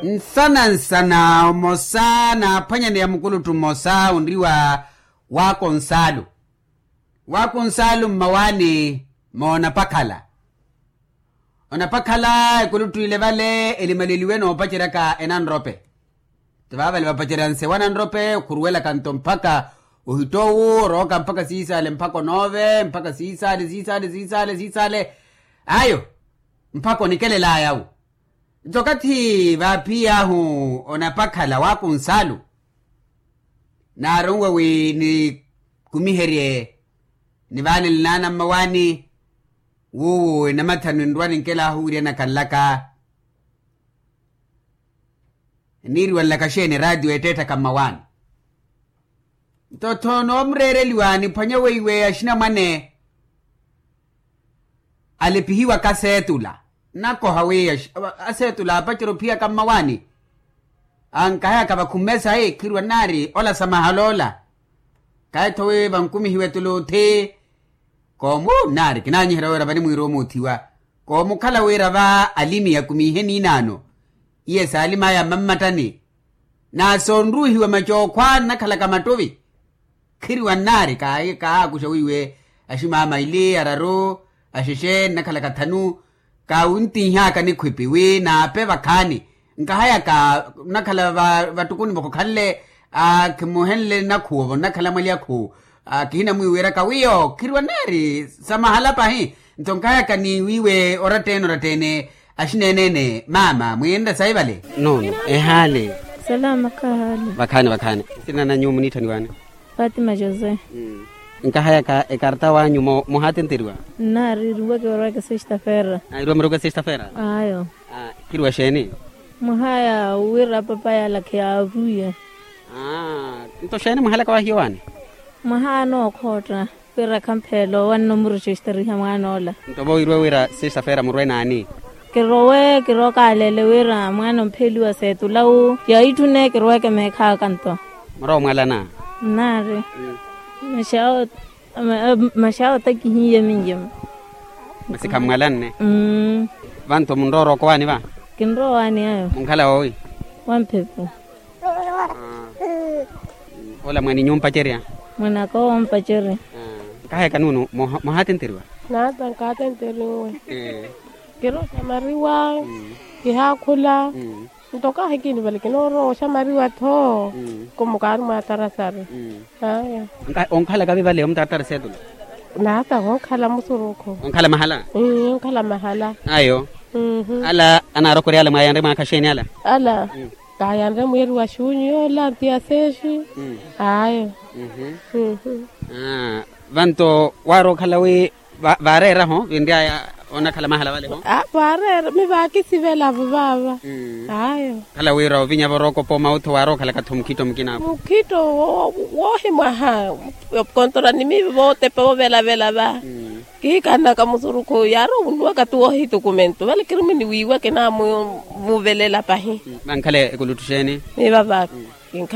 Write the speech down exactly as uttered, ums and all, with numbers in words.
Nsana nsana omosa n'aphwanyaneya mukuluttu mmosa onriwa, wakonsalu wakonsalu mmawaani moonapakhala. Onapakhala ekuluttu ile vale elimaleliwe noopaceryaka enanrope. Ti vaavale vapacerya nsewa nanrope okhuruwelaka nto mpakha ohittowu orooka mpakha siisaale mpakha onoove mpakha siisaale siisaale siisaale siisaale. Ayo mpakha onikelelaya-wo. Nto okathi vaaphiy'ahu onapakhala wakunsalu naaronwe wi nikumiherye nivaanele naana mmawaani. Wuwo enamathanu enrwa ninkelaahu wiryanaka nlaka eniiriwa nlaka xeeni eraatiyo eetteetthaka mmawaani. Nto-tho noomureereliwa niphwanye weiwe axinamwane alepihiwaka aseetula nnakoha wi aseetula aapacerya ophiyaka mmawaani. Ankahayaka vakhumme sayi khiriwa nnaari ola samahala ola. Kahi-tho wi vankumihiwe tuluthi koomu nnaari kinaanyiherya wira valimwiira omuuthiwa koomukhala wira va alimi akumiihe niinaano. Iye saalim'aya mmammattani na soonruuhiwa macookhwa nnakhalaka mattuvi. Khiriwa nnaari kaahakusha wiiwe aximaama ili araru axexe nnakhalaka thanu. Kaawuntinhaka nikhwipi wi naape vakhaani nkahayaka nnakhala vattukuni vakokhanle akhimuhenle nnakhuwo vo nnakhala mwali akhuwu. Kihinamwiiwiraka wiyo khiriwa nnaari samahala pahi. Nto nkahayaka ni wiiwe oratta-ene oratta-ene axineene-ene maama mwiinre sayi vale. Nono ehaale. Salama kahaale. Vakhaani vakhaani. Nsina na nyuwo muniitthaniwaani? Fatima josé. Nkahayaka ekarta w'anyu muhaatenteriwa? Nnaari iruwa kiroweke sexta-feira. Iruwa miroweke sexta-feira. Ayo. Khiriwa xeeni? Mwahaya wira papa yalakhe yaaruwiye. Nto xeeni mwahalaka wahiyo waani? Mwahaya nookhootta wira khampheelo wanno muruxesteriha mwaan'ola. Nto vo iruwe wira sexta-feira murwe naani? Kirowe kirookaaleele wira mwaana ompheeliwa seetula wu yaitthune kiroweke meekhaka nto. Murowa omwalana? Nnaari. Maxaawo takihiye minyemu. Masi khammwalanne? Vanto munrowa orooka owaani va? Kinrowa owaani ayo. Munkhala woowi? Wa mphepo. Ola mwaninyu ompacerya? Mwanaka owo ompacerya. Nkahayaka nuunu muhaatenteriwa? Naata nkaatenteriwe. Kirooxamariwa kihaakhula. Nto kahi kini vale kinoorowa oxamariwa-tho. Kumukaari mwaatarasari. Aya. Onkhalaka vi vale omutaatari seetula? Naata onkhala musurukhu. Onkhala mahala? Onkhala mahala. Ayo. Ala anaarokorya ala mwaayanre mwaakha xeeni ala? Ala kaayanre mwiiri wa xuunyu yoola ntiya seexi. Ayo. Vanto waari okhala wi vaareera-ho vinry'aya onakhala mahala vale-ho? Vaareera mi vaakisivela-vo vaava. Ayo. Khala wira ovinya vorookopa omautho waari okhalaka-tho mukhitto mukina-vo? Mukhitto woohimwaha. Kontora ni miivi vootepa vovelavela va. Kihikanaka musurukhu yaari ovunuwaka-tu woohitukumentu vale kiri mwini wiiwa kinaamuvelela pahi. Vankhala ekuluttu xeeni? Miiva vaaka. Kinkhala